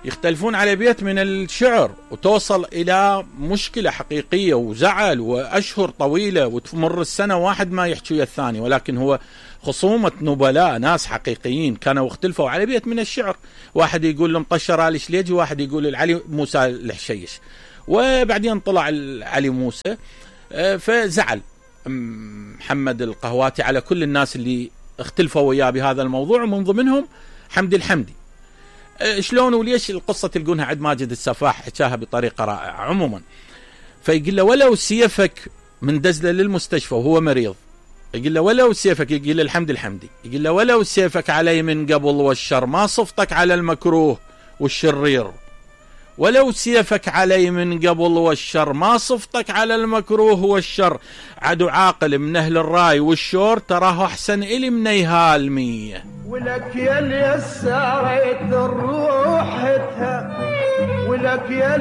يختلفون على بيت من الشعر، وتوصل إلى مشكلة حقيقية وزعل وأشهر طويلة وتمر السنة واحد ما يحكي ويا الثاني، ولكن هو خصومة نبلاء ناس حقيقيين كانوا اختلفوا على بيت من الشعر. واحد يقول المطشر آل شليجي، واحد يقول العلي موسى الحشيش، وبعدين طلع علي موسى. فزعل محمد القهواتي على كل الناس اللي اختلفوا وياه بهذا الموضوع، ومن ضمنهم حمدي الحمدي. شلون وليش القصة تلقونها عند ماجد السفاح حكاها بطريقة رائعة عموما. فيقول له ولو سيفك من دزله للمستشفى وهو مريض، يقول له ولو سيفك، يقول له الحمد الحمدي، يقول له ولو سيفك علي من قبل والشر ما صفتك على المكروه والشرير، ولو سيفك علي من قبل والشر ما صفتك على المكروه والشر، عدو عاقل من أهل الراي والشور تراه أحسن إلي من يهال 100. ولك يا اللي يسارت الروح ولك يا